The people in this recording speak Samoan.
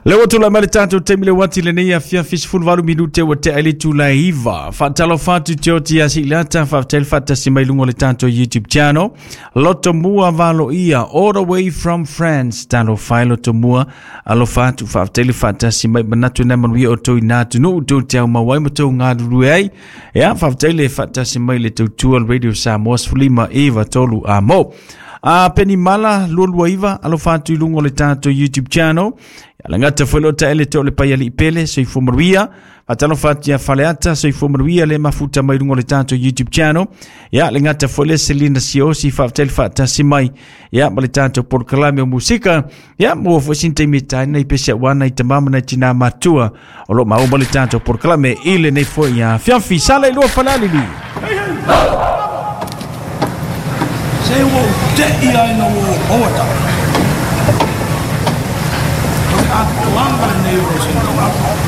Le ua tulai mai le tatou taimi le uati lenei afiafi 18 minute ua tea i le itula e 9. Faatalofa atu te oti ia Siilata, faafetai le faatasi mai luga o le tatou YouTube channel. Lotomua Valoia, all the way from France. Talofa e Lotomua, alofa atu, faafetai le faatasi mai manatu na manuia o tou ina atunuu, tou te aumau ai ma tou galulue ai. Ia, faafetai le faatasi mai le tautua le Radio Samoa 15 9 3 a mo. A Penny Mala 229 alofa atu i luga o le tatou YouTube channel. Ia le gata foi lo taele te o le paiali pele soifua manuia. Faatalofa atu ia Faleata soifua manuia le mafuta mai luga o le tatou YouTube channel. Ia le gata foi le Selina Siosi faafetai le faatasi mai. Ia ma le tatou polokalame o musika. Ia mo foi sin taimi e taina i pese wana i tamama na tina matua. O lo maua ma le tatou polokalame i lenei foi ia fiafi. Sala i lua Falealili. Se ua ou te i ai ina ua ou maua tau. O le atoaga lenei o lou saini.